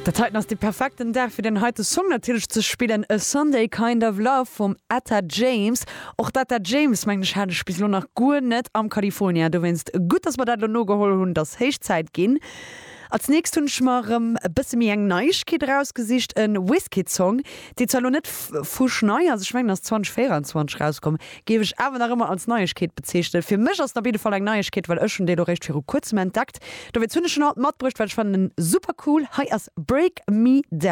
Dat heiten ass de perfekten Dag fir den heite Song natierlech ze spillen, A Sunday Kind of Love vum Etta James. Och d'Etta James, mengen ech, hat ech bis elo nach guer net am California. Dowéinst gutt, dass mer dat elo nogeholl hunn, et ass héich Zäit ginn. Als nächst hunn ech mer erëm e bësse méi eng Neiegkeet erausgesicht, e Wizkid-Song, dee zwar elo net fuschnei ass, ech mengen ass 2024 erauskomm, géif ech awer nach ëmmer als Neiegkeet bezeechnen. Fir mech ass en op jidde Fall eng Neiegkeet, well ech hunn dee lo réischt viru kuerzem entdeckt. Dowéinst hunn ech en haut matbruecht, well ech fannen en super cool. Hei ass Break Me Down.